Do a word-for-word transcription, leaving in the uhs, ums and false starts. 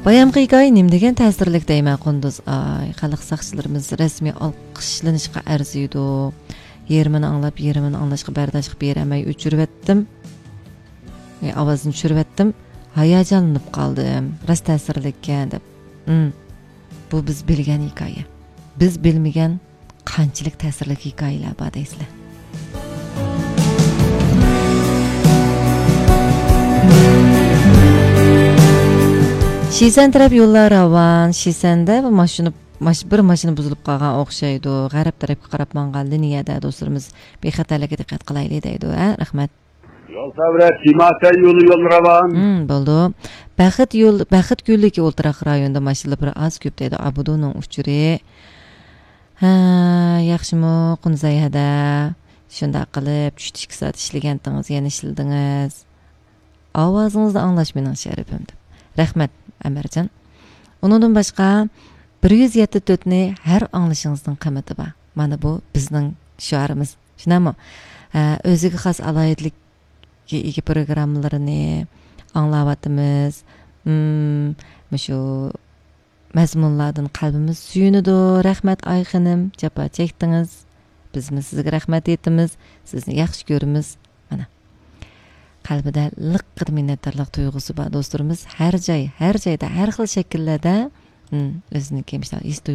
بايامقى ھېكايە نېمە دېگەن تەسىرلىك دەيمەن، قۇندۇز. ئاي، خەلق ساقچىلىرىمىز رەسمىي ئالقىشلىنىشقا ئەرزىيدۇ. يېرىمىنى ئاڭلاپ، يېرىمىنى ئاڭلاشقا بەرداشلىق بېرەلمەي ئۆچۈرۈۋەتتىم. ئاي، ئاۋازنى چۈشۈرۈۋەتتىم. ھاياجانلىنىپ قالدىم. راست تەسىرلىككەن دەپ. ھىم. بۇ بىز بىلگەن ھېكايە. بىز بىلمىگەن قانچىلىك تەسىرلىك ھېكايىلەر بار دەيسىلەر. شىسەن تەرەپ يوللار راۋان. شىسەندە بىر ماشىنا، ماش-، بىر ماشىنا بۇزۇلۇپ قالغان ئوخشايدۇ. غەرب تەرەپكە قاراپ ماڭغان لىنىيەدە دوستلىرىمىز بىخەتەرلىككە دىققەت قىلايلى دەيدۇ. ھە، رەھمەت. يول سەۋرە، تىماتەن يولى يول راۋان. ھىم، بولدى. بەخت يول، بەخت گۈللۈكى ئولتۇراق رايونىدا ماشىنىلار بىر ئاز كۆپ دەيدۇ. ئابدۇنىڭ ئۇچۇرى. ھە، ياخشىمۇ، قۇنزاي ھەدە؟ شۇنداق قىلىپ، چۈشتە ئىككى سائەت ئىشلىگەنتىڭىز، يەنە ئىشلىدىڭىز. ئاۋازىڭىزنى ئاڭلاش مېنىڭ شەرىپىم دەپ. رەھمەت، ئەمەرجان. ئۇنىڭدىن باشقا، بىر يۈز يەتتە تۆتنى ھەر ئاڭلىشىڭىزنىڭ قىممىتى بار. مانا بۇ بىزنىڭ شوئارىمىز. شۇنداقمۇ؟ ھە، ئۆزىگە خاس ئالاھىدىلىككە ئىگە پروگراممىلىرىنى ئاڭلاۋاتىمىز. ھىم، مۇشۇ مەزمۇنلاردىن قەلبىمىز سۆيۈنىدۇ. رەھمەت، ئاي خېنىم، جاپا چەكتىڭىز. بىزمۇ سىزگە رەھمەت ئېيتىمىز. سىزنى ياخشى كۆرىمىز. مانا. قەلبىدە لىققىدە مىننەتدارلىق تۇيغۇسى بار دوستلىرىمىز. ھەر جاي، ھەر جايدا، ھەر خىل شەكىللەردە، ھىم، ئۆزىنىڭكى مۇشۇنداق ھېس تۇيغۇ